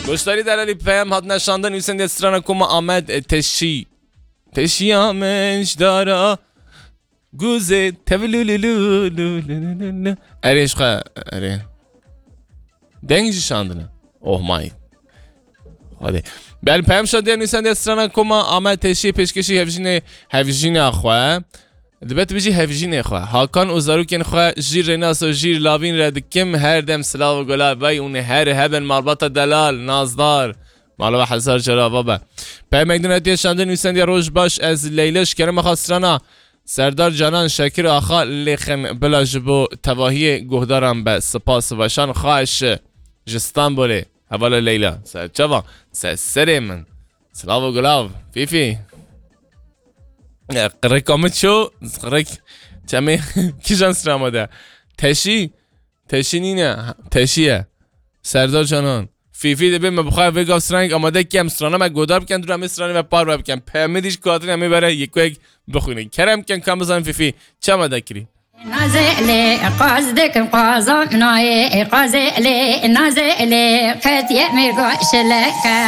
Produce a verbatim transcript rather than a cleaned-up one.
Goşdarî delalî peyam hatine şandin û sendê strana koma Amed, e, Teşî. Teşî Amed ji dara guzê tevilululululululu. Erê ji xwe, erê. Deng jî şandine. Oh my. Hadi. Bel peyam şandin û sendê strana koma Amed Teşî pêşkêşî hevjînê, hevjîna xwe. Dibe tu bijî hevjînê xwe. Hakan û zarokên xwe jîr Rênas û jîr Lavîn re dikim, her dem silav û gula vey û her hebin malbata delal, nazdar. Mala we hezar cara ava be. Pemek din hatiye şandin û sendiya roj baş ez Leyla ji kerema xwe strana Serdar Canan Şekir Axa lêxin bila ji bo tevahiyê guhdaran be. Spas û weşan xweş ji Stenbolê. Hevala Leyla. Ser çava. Ser serê min. Silav û gulav. Fîfî. E, qirika min ço, qirik. Çemê kijan sira amade. Teşî. Teşî nîne. Teşî ye. Serdar Canan. Fîfî dibê me bixwe vê gav stranê amade kem strana me goda bikin, dura me stranê me parve bikin. Peyamê dîş katin em ê bere yek yek bixwînin. Kerem ken kam bizan Fîfî. Çi amade kirî? Nazê lê qaz dikim qazam nayê, qazê lê nazê lê qet yemê goşleke.